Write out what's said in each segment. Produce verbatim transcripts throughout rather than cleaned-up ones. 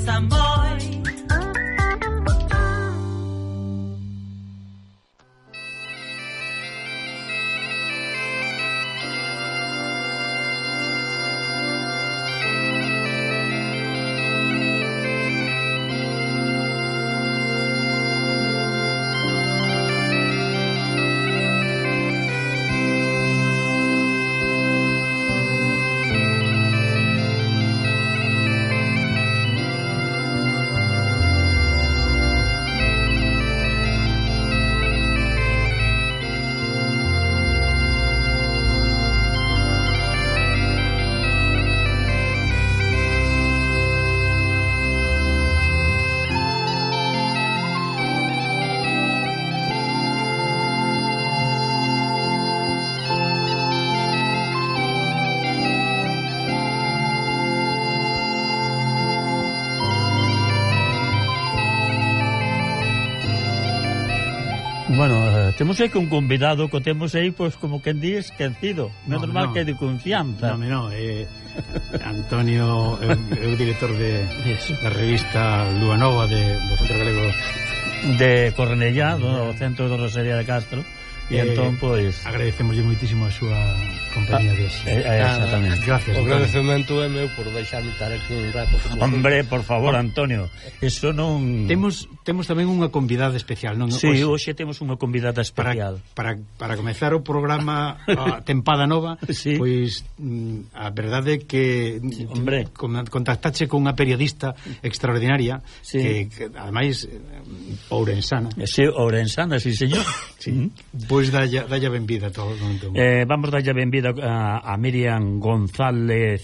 Samboy. Bueno, eh, temos aí que un convidado que temos aí, pois, como quen di, esquecido. Non é normal no. Que é de confianza. Non, non, é Antonio, é o director de, da revista Lúa Nova de, do Centro Galego de Cornellá, do Centro de Rosería de Castro. E eh, entón, pois... agradecemos moitísimo a súa compañía de hoxe. Eh, eh, exactamente. Ah, gracias. O agradecemento é meu por deixarme estar aquí un rato. Hombre, por favor, Antonio, eso non... Temos temos tamén unha convidada especial, non? Sí, hoxe, hoxe temos unha convidada especial. Para, para, para comezar o programa a tempada nova, sí. Pois a verdade é que sí, hombre, contactache con unha periodista extraordinaria, sí. que, que ademais ourensana. Sí, ourensana, sí, señor. Sí. Mm. Pois dalla, dalla benvida todo. Eh, vamos dalla benvida a, a Miriam González,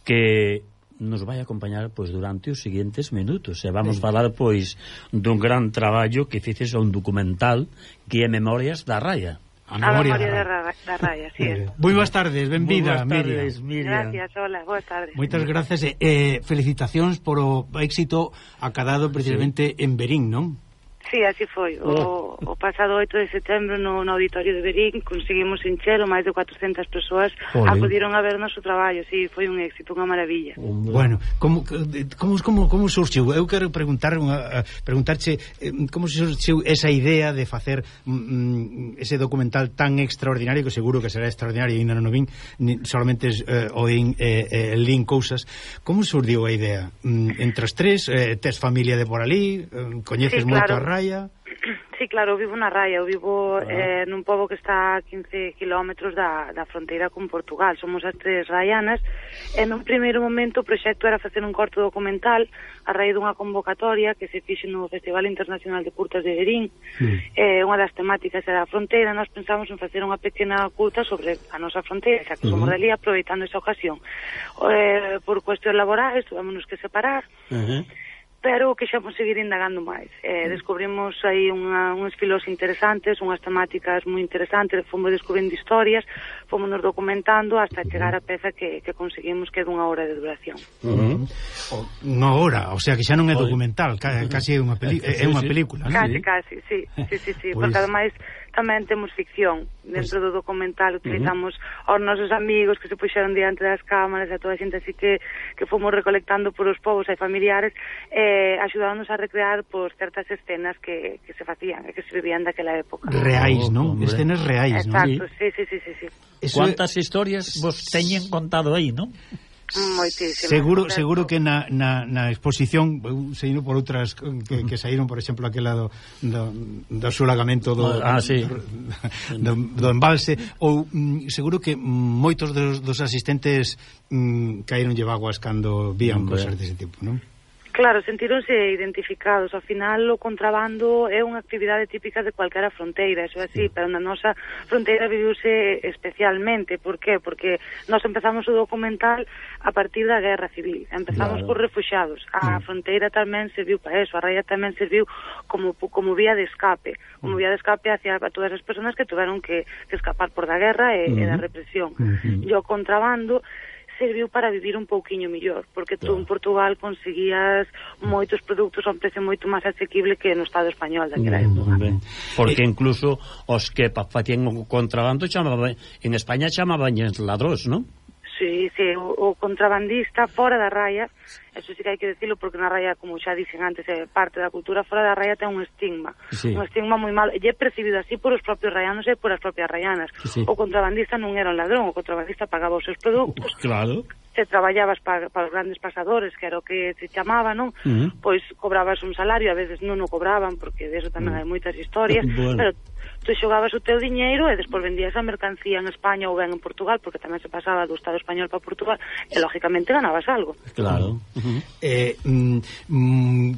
que nos vai acompañar pois durante os seguintes minutos. E vamos sí. falar pois dun gran traballo que fices un documental que é Memorias da Raya. A memoria, a memoria da, ra da Raya, sí. Moi boas tardes, benvida, Miriam. Miriam. Gracias, hola, boas tardes. Moitas gracias e eh, felicitacións por o éxito acadado precisamente sí. en Verín, non? Sí, así foi. O, o pasado oito de setembro no, no auditorio de Verín conseguimos enchelo, máis de cuatrocentas persoas acudiron a ver o noso traballo. Sí, foi un éxito, unha maravilla. Bueno, como como como como surxiu? Eu quero preguntar unha, preguntarche como surxiu esa idea de facer mm, ese documental tan extraordinario, que seguro que será extraordinario e ainda non o vin, solamente eh, oín eh, eh, lin cousas. Como surdiu a idea? Mm, entre os tres, eh, tes familia de por ali, eh, coñeces sí, moito claro. a Raya? Sí, claro, eu vivo na Raya, eu vivo ah. eh, nun pobo que está a quince kilómetros da, da fronteira con Portugal. Somos as tres raianas e nun primeiro momento o proxecto era facer un corto documental a raíz dunha convocatoria que se fixe no Festival Internacional de Curtas de Verín. Mm. eh, unha das temáticas era a fronteira. Nós pensamos en facer unha pequena curta sobre a nosa fronteira, xa que somos uh -huh. dali, aproveitando esa ocasión. Eh, por cuestións laborais tuvémonos que separar, uh -huh. pero que xa vamos seguir indagando máis. Eh, descubrimos aí unha, uns filos interesantes, unhas temáticas moi interesantes, fomos descubrindo historias, fomos nos documentando hasta chegar a peza que, que conseguimos, que é dunha hora de duración. Uh -huh. Unha hora, o sea que xa non é documental, casi é unha, peli é unha película, non? Casi, casi, sí, sí, sí, sí, pues... porque ademais tamén temos ficción dentro pues... do documental. Utilizamos uh -huh. aos nosos amigos que se puxeron diante das cámaras, a toda a xente así que, que fomos recolectando por os povos e familiares, eh, axudándonos a recrear por certas escenas que, que se facían e que se vivían daquela época. Reais, non? Oh, escenas reais, non? Exacto, sí, sí, sí, sí, sí. Cuántas historias vos teñen contado aí, non? Moitísimas. Seguro, seguro que na, na, na exposición saíron por outras que, que saíron, por exemplo, aquela do, do, do sulagamento do, ah, sí. do, do embalse, ou mm, seguro que moitos dos, dos asistentes mm, caíronlle vaguas cando vían cosas dese tipo, non? Claro, sentironse identificados. Ao final, o contrabando é unha actividade típica de cualquera fronteira, eso é así, sí. Pero na nosa fronteira viviuse especialmente. Por qué? Porque nós empezamos o documental a partir da guerra civil. Empezamos claro. por refuxiados. A mm. fronteira tamén serviu para eso, a Raya tamén serviu como, como vía de escape, como vía de escape hacia a todas as persoas que tuveron que, que escapar por da guerra e, mm. e da represión. Mm -hmm. E o contrabando serviu para vivir un pouquiño mellor, porque tú en Portugal conseguías moitos produtos a un precio moito máis asequible que no Estado español daquela época. Porque incluso os que facían o contrabando chamaban, en España chamaban ladróns, non? Sí, sí, o, o contrabandista fora da raya, eso sí que hai que decirlo, porque na raya, como xa dixen antes, é parte da cultura, fora da raya ten un estigma, sí. un estigma moi malo, e é percibido así por os propios rayanos e por as propias rayanas. Sí. O contrabandista non era un ladrón, o contrabandista pagaba os seus produtos. Claro. Se traballabas para, para os grandes pasadores, que era o que se chamaba, non? Uh -huh. Pois cobrabas un salario, a veces non o cobraban, porque de eso tamén uh -huh. hai moitas historias, bueno. pero tu xogabas o teu diñeiro e despois vendías a mercancía en España ou ben en Portugal, porque tamén se pasaba do Estado español para Portugal, e lógicamente ganabas algo. Claro. Uh -huh. eh, mm, mm,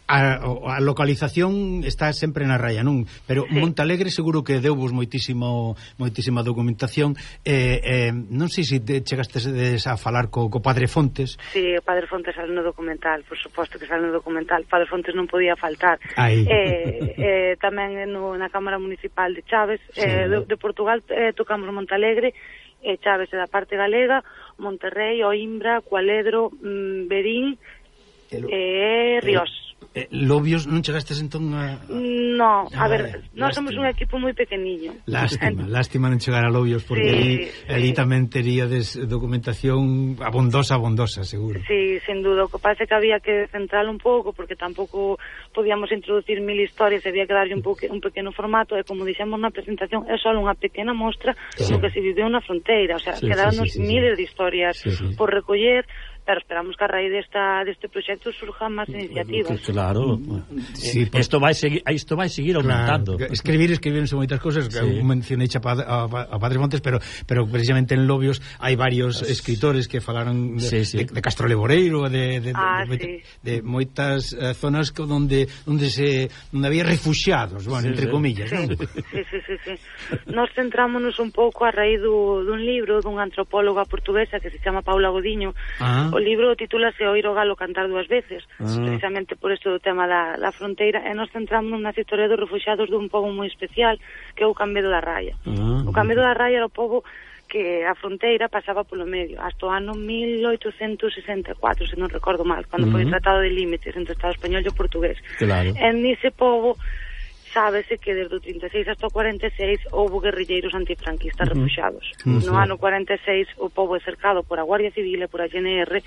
A, a localización está sempre na raya, non? Pero sí. Montalegre seguro que deuvos moitísimo moitísima documentación. eh, eh, non sei se te chegastes a falar co, co Padre Fontes. Sí, o Padre Fontes sale no documental, por suposto que sale no documental. O Padre Fontes non podía faltar. eh, eh, Tamén no, na Cámara Municipal de Chaves, sí. eh, de, de Portugal, eh, tocamos Montalegre, eh, Chaves é da parte galega, Monterrey, Oimbra, Cualedro, mm, Berín e eh, Ríos. Eh, Lobios non chegastes entón a... No, a ah, ver, nós somos un equipo moi pequeniño. Lástima, lástima non chegar a Lobios, porque sí, ali, sí. ali tamén teríades documentación abondosa, abondosa, seguro. Sí, sin duda, o que pasa é que había que centrar un pouco, porque tampouco podíamos introducir mil historias, había que darlle un, pouque, un pequeno formato, e como dixemos na presentación, é só unha pequena mostra sí. do que se viveu na fronteira, o sea, sí, quedaron sí, sí, sí, miles sí. de historias sí, sí. por recoller, pero esperamos que a raíz desta deste proxecto surjan máis iniciativas. Claro. Sí, pues, isto vai seguir, isto vai seguir aumentando. Claro, escribir, escribirse moitas cousas, sí. mencionei a, a, a Padre Fontes, pero pero precisamente en Lobios hai varios pues, escritores que falaron de, sí, sí. de, de Castro Leboreiro, de de, ah, de, sí. de, de moitas uh, zonas onde onde se onde había refuxiados, bueno, sí, entre sí. comillas, sí. ¿no? Sí, sí, sí, sí. Nos centrámonos un pouco a raíz do, dun libro dunha antropóloga portuguesa que se chama Paula Godiño. Ah. O libro titúlase Oír o galo cantar dúas veces, ah. precisamente por isto do tema da, da fronteira, e nos centramos nas historias dos refuxiados dun pobo moi especial, que é o Cambedo da Raya. Ah. O Cambedo da Raya era o pobo que a fronteira pasaba polo medio, hasta o ano mil oitocentos sesenta e catro, se non recordo mal, cando uh -huh. foi o Tratado de Límites entre o Estado español e o portugués. Claro. En ese pobo sábese que desde o trinta e seis hasta o cuarenta e seis houve guerrilleiros antifranquistas uh -huh. refuxiados. Uh -huh. No ano cuarenta e seis o pobo é cercado por a Guardia Civil e por a G N R,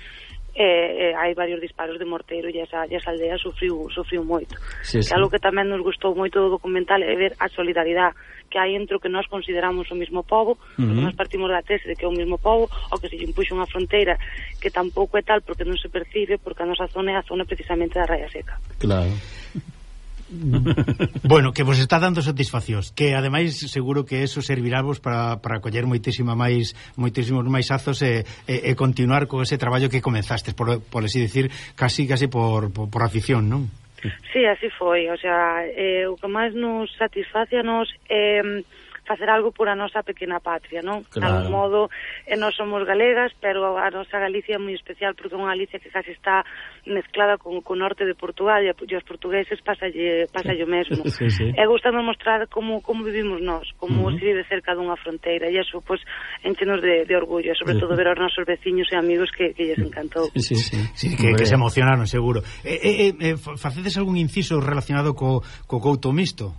e, e hai varios disparos de morteiro e esa, e esa aldea sufriu, sufriu moito. Sí, sí. Algo que tamén nos gustou moito do documental é ver a solidaridade que hai entre o que nós consideramos o mismo pobo, uh -huh. nós partimos da tese de que é o mismo pobo, o que se lle impuxo unha fronteira que tampouco é tal porque non se percibe, porque a nosa zona é a zona precisamente da Raya Seca. Claro. Bueno, que vos está dando satisfaccións, que ademais seguro que eso servirávos para, para coller moitísima máis moitísimos máis azos e, e, e continuar con ese traballo que comenzastes, por, por así decir, casi casi por, por, por afición, non? Sí, así foi, o sea, eh, o que máis nos satisface a nos é eh, facer algo por a nosa pequena patria, non? Claro. De algún modo, eh, nós somos galegas, pero a nosa Galicia é moi especial porque é unha Galicia que casi está mezclada con o norte de Portugal e os portugueses pasalle, pasalle o mesmo. Sí, sí. E gustame mostrar como, como vivimos nós, como uh -huh. se vive cerca dunha fronteira, e iso, pois, enchenos de, de orgullo, sobre todo ver aos nosos veciños e amigos que, que lles encantou. Sí, sí, sí. sí que, que se emocionaron, seguro. Eh, eh, eh, facedes algún inciso relacionado co, co couto mixto?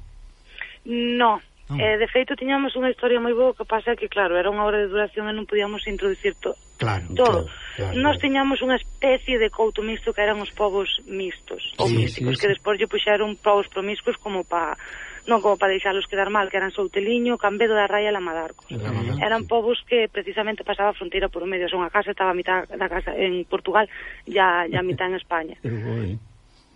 No. Oh. Eh, de feito, tiñamos unha historia moi boa, que pasa que, claro, era unha hora de duración e non podíamos introducir to claro, todo. Claro, claro, Nós claro. tiñamos unha especie de couto mixto que eran os povos mixtos, ou sí, místicos, sí, sí. que despois lle puxeron povos promiscuos como pa... non como para deixalos quedar mal, que eran Souteliño, Cambedo da Raya e Lamadarcos. Lamadarcos. Eran povos que precisamente pasaba a fronteira por o medio, son a casa estaba a mitad da casa en Portugal e a, a mitad en España.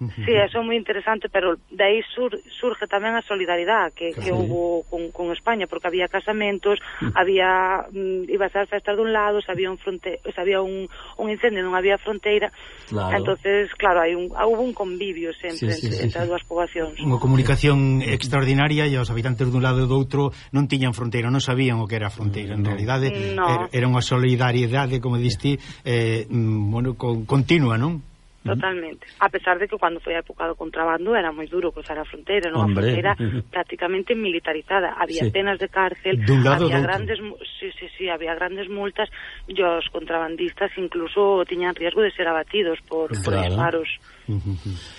Sí, eso é moi interesante, pero de aí sur, surge tamén a solidaridade que, que sí. hubo con, con España, porque había casamentos, mm. había mm, iba a ser festas dun lado, se había un fronte, se había un, un incendio, non había fronteira, claro. Entonces, claro, hai un, hubo un convivio sempre sí, sí, entre, sí, entre sí. as dúas poboacións. Unha comunicación extraordinaria e os habitantes dun lado e do outro non tiñan fronteira, non sabían o que era a fronteira, en no. realidade no. era, era unha solidariedade, como diste, eh, bueno, con, continua, non? Totalmente, a pesar de que cando foi a época do contrabando era moi duro cruzar a fronteira, non? A fronteira prácticamente militarizada, había sí. penas de cárcel, había grandes, sí, sí, sí, había grandes multas e os contrabandistas incluso tiñan riesgo de ser abatidos por, claro. por disparos.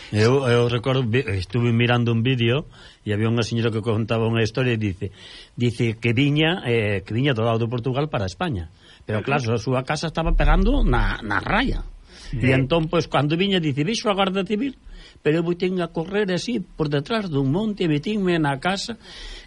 Eu, eu recordo, estuve mirando un vídeo e había unha señora que contaba unha historia e dice dice que viña eh, que viña do lado de Portugal para España, pero claro, a súa casa estaba pegando na, na raya. Sí. E entón, pois, cando viña, dice, vixo a Garda Civil, pero eu vou a correr así por detrás dun monte, metínme na casa,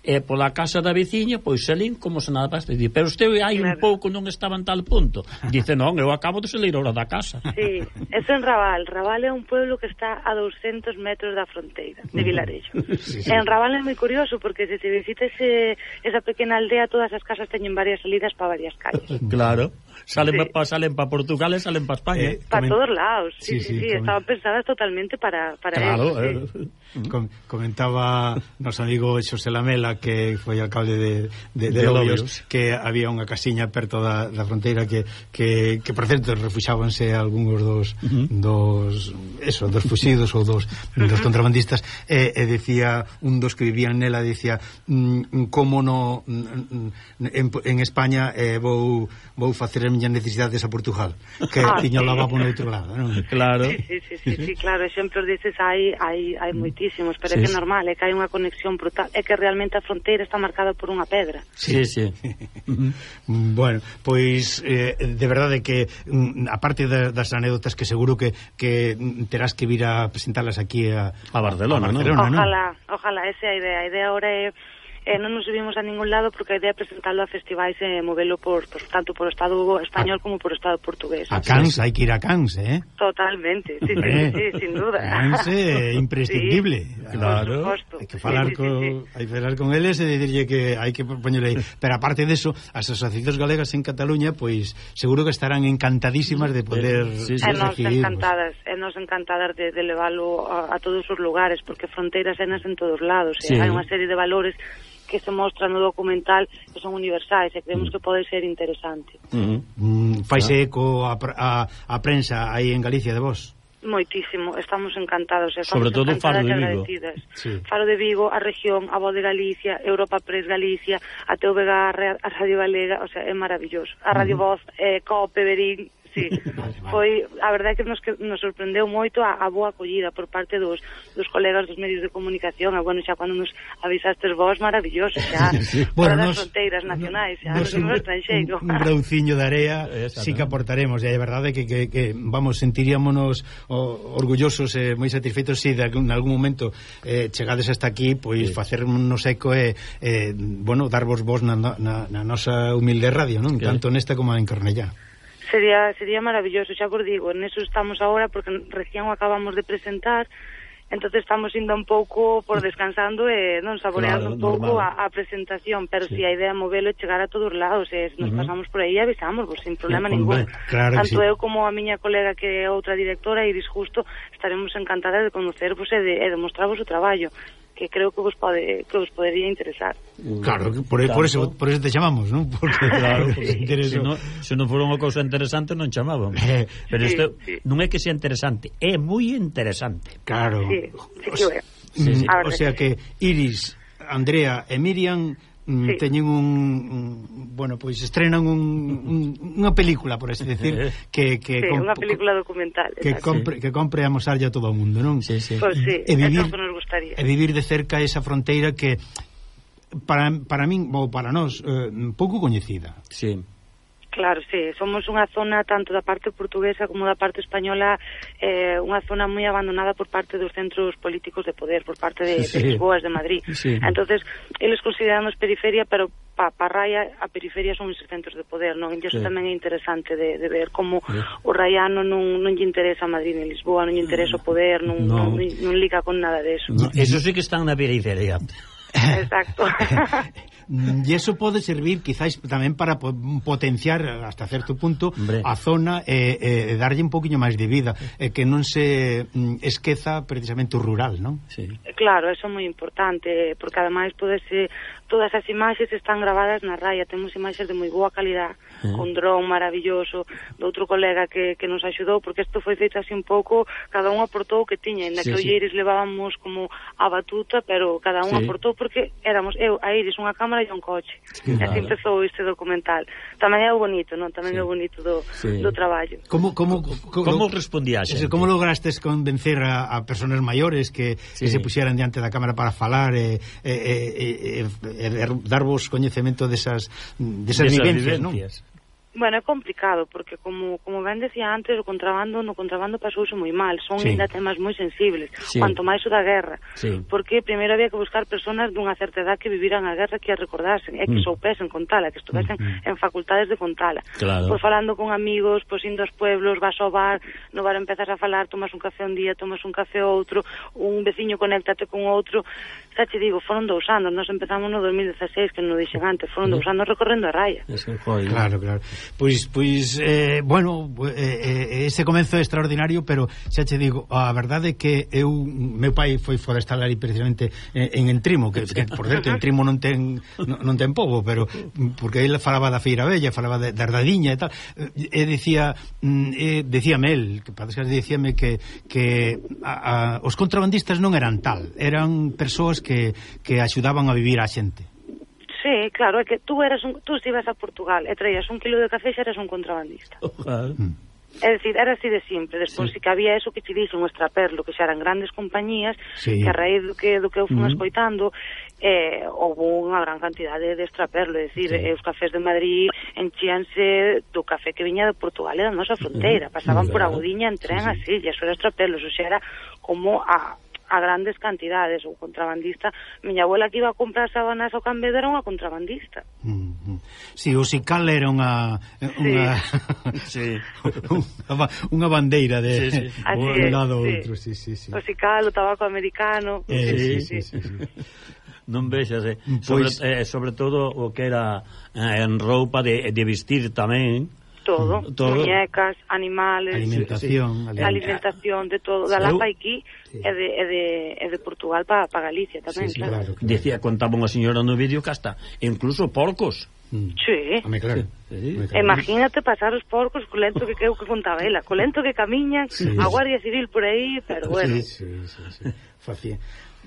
e pola casa da veciña, pois salín como se nada pasa. Dice, pero usted hai claro. un pouco non estaba en tal punto. Dice, non, eu acabo de salir ahora da casa. Sí, eso en Raval. Raval é un pueblo que está a doscientos metros da fronteira de Vilarello. Sí, sí. En Raval é moi curioso, porque se te visites ese, esa pequena aldea, todas as casas teñen varias salidas para varias calles. Claro. Salen sí. pa, salen pa Portugal e salen pa España. Eh, para todos lados, sí, sí, sí, sí. Estaban pensadas totalmente para, para claro, eso. Sí. Eh, Com comentaba noso amigo Xosé Lamela, que foi alcalde de, de, de, de Lobios, que había unha casiña perto da, da fronteira que, que, que por certo, refuxábanse algúns dos, uh -huh. dos eso, dos fuxidos ou dos, uh -huh. dos contrabandistas, e, e decía, un dos que vivían nela, decía, mm, como no en, en España eh, vou, vou facer as miñas necesidades a Portugal, que ah, tiña o lavabo no outro lado, non? Claro. Sí, sí, sí, sí, sí, claro, exemplos dices hai, hai, hai moitísimos, pero sí, é que é normal, é que hai unha conexión brutal, é que realmente a fronteira está marcada por unha pedra. Sí, sí. Bueno, pois eh, de verdade que aparte das anécdotas que seguro que, que terás que vir a presentarlas aquí a, a Barcelona, a Barcelona, ¿no? Ojalá, ojalá, esa é a idea. A idea ahora é Eh, non nos subimos a ningún lado porque a idea é presentarlo a festivais e movelo por, por tanto por o Estado español a, como por o Estado portugués. A Cans, hai que ir a Cans, eh? Totalmente, sí, sí, eh, sí, sin duda. Cans é imprescindible. Sí, claro. Hai que falar sí, sí, con, sí, sí. hai que falar con eles e dicirlle que hai que poñerle aí. Pero aparte deso, as asociacións galegas en Cataluña, pois seguro que estarán encantadísimas de poder sí, sí, sí. E nos encantadas, e nos encantadas de, de leválo a, a todos os lugares, porque fronteiras enas en todos lados, sí. eh? Hai unha serie de valores que se mostra no documental que son universais e creemos que pode ser interesante. Uh -huh. mm, Faise eco a, a, a prensa aí en Galicia de vos? Moitísimo, estamos encantados, estamos sobre todo encantadas Faro de Vigo. Sí. Faro de Vigo, a región, a Voz de Galicia, Europa Press Galicia, a T V G, a Radio Galega, o sea, é maravilloso. A Radio uh -huh. Voz, eh, Cope, Berín, sí. Foi, a verdade é que nos, que nos sorprendeu moito a, a boa acollida por parte dos, dos colegas dos medios de comunicación, e bueno, xa cando nos avisastes vos, maravilloso, xa, sí. Fora bueno, das fronteiras nacionais, xa, nos, nos estranxeiro. Un, un grauciño de area, sí que aportaremos, e a verdade é que, que, que, vamos, sentiríamonos orgullosos e eh, moi satisfeitos se si de algún, algún momento eh, chegades hasta aquí, pois sí. facernos eco e, eh, bueno, darvos vos na, na, na nosa humilde radio, non? Sí. Tanto nesta como en Cornellá. Sería sería maravilloso, xa por digo, en eso estamos agora porque recién o acabamos de presentar, entonces estamos indo un pouco por descansando e non saboreando claro, un pouco a, a presentación, pero sí. Si a idea é movelo e chegar a todos lados, e se nos uh -huh. pasamos por aí avisamos, pues, sin problema sí, ningún. Claro tanto sí. eu como a miña colega que é outra directora, Iris Justo, estaremos encantadas de conocervos e de, e de mostrarvos o traballo, que creo que vos pode que vos podería interesar. Claro, por, por eso por eso te chamamos, ¿no? Porque claro, sí. Se non se non fora unha cousa interesante non chamaban. Pero sí, isto sí. non é que sea interesante, é moi interesante. Claro. Sí, sí que é. Sí, sí. O sea que Iris, Andrea e Miriam sí. teñen un, un bueno, pois pues estrenan un, un, unha película, por así decir, que que sí, unha película documental, que compre, que compre a mosarlle a todo o mundo, non? Sí, sí. Pues sí, e vivir, eso que nos gustaría. E vivir de cerca esa fronteira que para para min ou para nós eh, pouco coñecida. Sí. Claro, sí, somos unha zona tanto da parte portuguesa como da parte española, eh, unha zona moi abandonada por parte dos centros políticos de poder, por parte de, sí. de Lisboa, de Madrid. Sí. Entonces, eles consideramos periferia, pero pa, pa Raia a periferia son os centros de poder, non? E iso sí. tamén é interesante de, de ver como sí. o raiano non, non lle interesa Madrid ni Lisboa, non lle interesa o poder, non, no. non, non liga con nada de eso. No, eso sí que están na periferia. Exacto. E iso pode servir quizás tamén para potenciar hasta certo punto Hombre. a zona e, e darlle un poquinho máis de vida, e que non se esqueza precisamente o rural, non? Sí. Claro, eso é moi importante, porque ademais podese, todas as imaxes están gravadas na Raia, temos imaxes de moi boa calidad, sí. con dron maravilloso, do outro colega que, que nos axudou, porque isto foi feito así un pouco, cada un aportou o que tiña, e na sí, que sí. Iris levábamos como a batuta, pero cada un sí. aportou, porque éramos eu, a Iris, unha cámara e un coche. Sí, e así claro. empezou este documental. Tamén é o bonito, non? Tamén sí. é o bonito do, sí. do traballo. Como como como respondías? Como lograstes convencer a, a persoas maiores que, sí. que se puxeran diante da cámara para falar e, e, e, e, e darvos coñecemento desas desas, desas vivencias, non? Bueno, é complicado, porque como como ben decía antes, o contrabando, no contrabando pasouse moi mal, son sí. ainda temas moi sensibles, sí. cuanto máis o da guerra, sí. porque primeiro había que buscar personas dunha certa edad que viviran a guerra, que a recordasen, e que mm. soupesen contala, que estuvesen mm. en facultades de contala. Claro. Pois falando con amigos, pois indo aos pueblos, vas ao bar, no bar empezas a falar, tomas un café un día, tomas un café outro, un veciño conéctate con outro, xa te digo, foron dous anos, nos empezamos no dos mil dieciséis, que non dixen antes, foron dous anos recorrendo a raya. Claro, claro. Pois, pois eh, bueno, eh, este comenzo é extraordinario, pero xa te digo, a verdade é que eu, meu pai foi forestal aí precisamente en Entrimo, que, que por certo, Entrimo non ten non, non ten pobo, pero porque ele falaba da Feira Bella, falaba da de Ardadiña e tal, e dicía, e decíame el, que parece que dicíame que, que a, a, os contrabandistas non eran tal, eran persoas que, que axudaban a vivir a xente. Sí, claro, é que tú eras un, tú se ibas a Portugal e traías un kilo de café, xa eras un contrabandista. Ojalá. Mm. É dicir, era así de simple. Despois sí. si que había eso que te dixen o extraperlo, que xa eran grandes compañías, sí. que a raíz do que, do que eu fui mm. escoitando, eh, houve unha gran cantidade de extraperlo, é dicir, sí. os cafés de Madrid enchíanse do café que viña de Portugal e da nosa fronteira, pasaban mm. por Agudiña en tren sí, sí. así, e eso era extraperlo, eso xa era como a a grandes cantidades, o contrabandista. Miña abuela que iba a comprar sábanas ao Cambedo era unha contrabandista. Mm-hmm. Si, sí, o Sical era unha unha sí. unha, unha bandeira de sí, sí. un lado sí. outro, sí, sí, sí. O Sical, o tabaco americano. Eh, sí, sí, sí, sí, sí. Non vexas, eh. sobre, Pois... eh, sobre todo o que era eh, en roupa de, de vestir tamén. Todo, todo. muñecas, animales, alimentación, sí, alimentación de todo, da Lapa aquí sí. e, de, e, de, e de Portugal para pa Galicia tamén, sí, sí, claro. claro, claro. Decía, contaba unha señora no vídeo que hasta incluso porcos. Mm. Sí. Home, claro. Sí. Sí. Imagínate pasar os porcos co lento que creo que contaba ela, co lento que camiñan, sí. a Guardia Civil por aí, pero bueno. Sí, sí, sí, sí. Facía.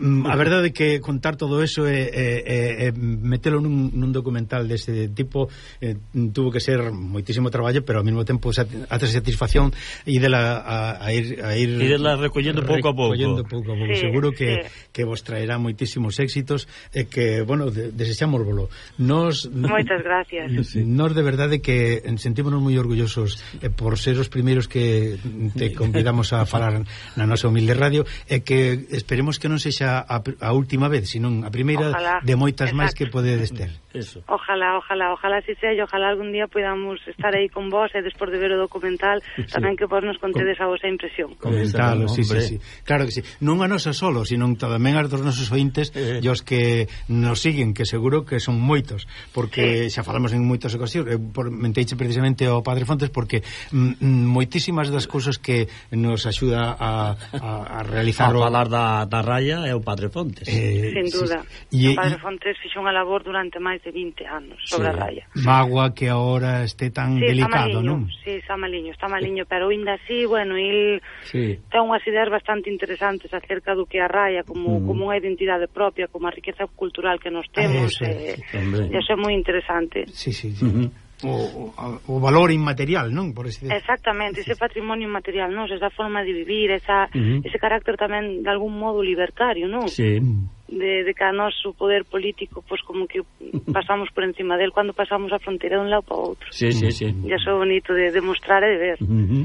A verdade é que contar todo eso e, e, e metelo nun, nun documental deste tipo eh, tuvo que ser moitísimo traballo, pero ao mesmo tempo a satisfacción e dela a, a ir a ir e dela recollendo pouco a pouco, recollendo pouco a pouco. Sí, seguro que, sí. que vos traerá moitísimos éxitos e que, bueno, de, desexámosvolo. Nos Moitas gracias. Nos de verdade que sentímonos moi orgullosos eh, por ser os primeiros que te convidamos a falar na nosa humilde radio e que esperemos que non sexa A, a última vez, senón a primeira ojalá, de moitas máis que podedes ter. Eso. Ojalá, ojalá, ojalá si sea, e ojalá algún día podamos estar aí con vos e despois de ver o documental sí. tamén que vos nos contedes a vosa impresión. Comentalo, sí, sí, sí. Claro que sí. Non a nosa solo, senón tamén a dos nosos ointes eh. e os que nos siguen, que seguro que son moitos, porque sí. xa falamos en moitas ocasións, por, menteiche precisamente ao Padre Fontes, porque m, moitísimas das cousas que nos axuda a, a, a realizar a falar da, da raya é o Padre Fontes. Eh, Sin duda. Sí, sí. O Padre Fontes fixo unha labor durante máis de vinte anos sobre sí. a raya. Magua que agora este tan sí, delicado, está non? Sí, está maliño, está maliño, pero ainda así, bueno, il sí. ten unhas ideas bastante interesantes acerca do que a raya como, mm. como unha identidade propia, como a riqueza cultural que nos temos, ah, e eh, iso é moi interesante. Sí, sí, sí. Uh-huh. O, o, o valor inmaterial, non? Por ese... Exactamente, ese patrimonio inmaterial, non? Esa forma de vivir, esa, uh-huh. ese carácter tamén de algún modo libertario, non? Sí. De, de que a noso poder político, pois pues, como que pasamos por encima del cando pasamos a fronteira de un lado para outro. Sí, sí, sí. E iso é bonito de demostrar e de ver. Uh-huh.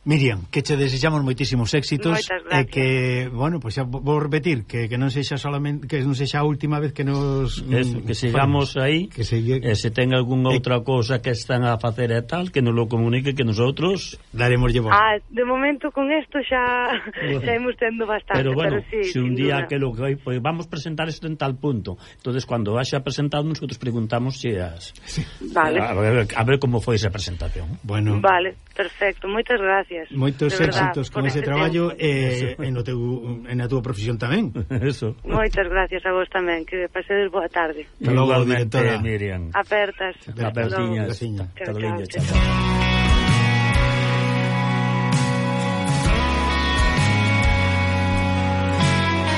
Miriam, que che desexamos moitísimos éxitos e que, bueno, pois pues xa vou repetir que, que non sexa solamente que non sexa a última vez que nos Eso, que sigamos aí que sigue, e se ten algunha outra cousa que están a facer e tal, que nos lo comunique, que nosotros daremos llevo. Ah, de momento con isto xa xa imos tendo bastante, pero bueno, pero sí, se un día duda. que lo que pues, vamos presentar isto en tal punto, entonces cuando vaya presentado nosotros preguntamos si as sí. Vale. A ver, a ver como foi esa presentación. Bueno. Vale, perfecto, moitas gracias. Moitos éxitos con ese traballo e eh, no teu, en a túa profesión tamén. Eso. Moitas gracias a vos tamén, que pasedes boa tarde. Hasta logo, directora Miriam. Apertas. Apertiñas. Apertiñas. Carolina, chao.